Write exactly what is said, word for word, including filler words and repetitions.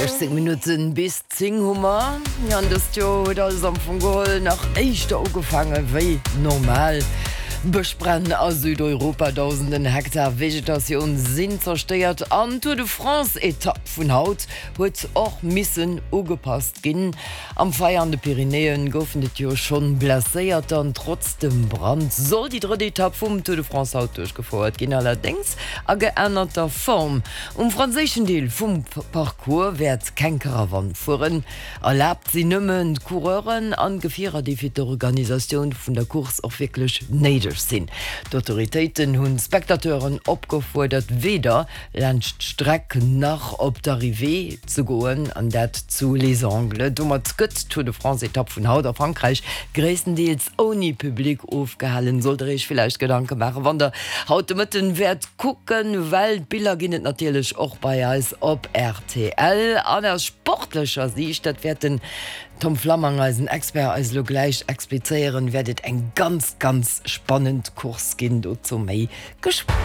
Siechzéng Minutten bis zéng hu mer. An dëst Joer huet alles am Fong geholl nach éischter ugefaange wéi normal. Bëschbränn a Südeuropa, Dausenden Hektar Vegetatioun sinn zerstéiert an d'Tour de France-Etapp vun haut huet och missen ugepasst ginn. Am Feier an de Pyrenäen goufen et jo schonn Blesséierter an trotz dem Brand soll déi drëtt Etapp vum Tour de France haut duerchgefouert ginn, allerdéngs a geännerter Form. Um franséischen Deel vum Parcours wäert keng Karawann fueren. Erlaabt sinn nëmmen d'Coureuren an Gefierer, déi fir d'Organisatioun vun der Course och wierklech néideg sinn. D'Autoritéiten hunn d'Spectateuren opgefuerdert, weder laanscht d'Streck nach op d'Arrivée ze goen, an dat zu Les Angles. Domat gëtt d'Tour de France-Etapp vun haut a Frankräich gréisstendeels ouni Public ofgehalen. Sollt der iech villäicht Gedanke maachen, wann der haut de Mëtten wäert kucken, well d'Biller ginn et natierlech och bei eis op rtl. An aus sportlecher Siicht, dat wäert den Tom Flammang, eisen Expert, eis elo gläich explizéieren, wäert et eng ganz, ganz spannend Course ginn. Dozou méi geschwënn.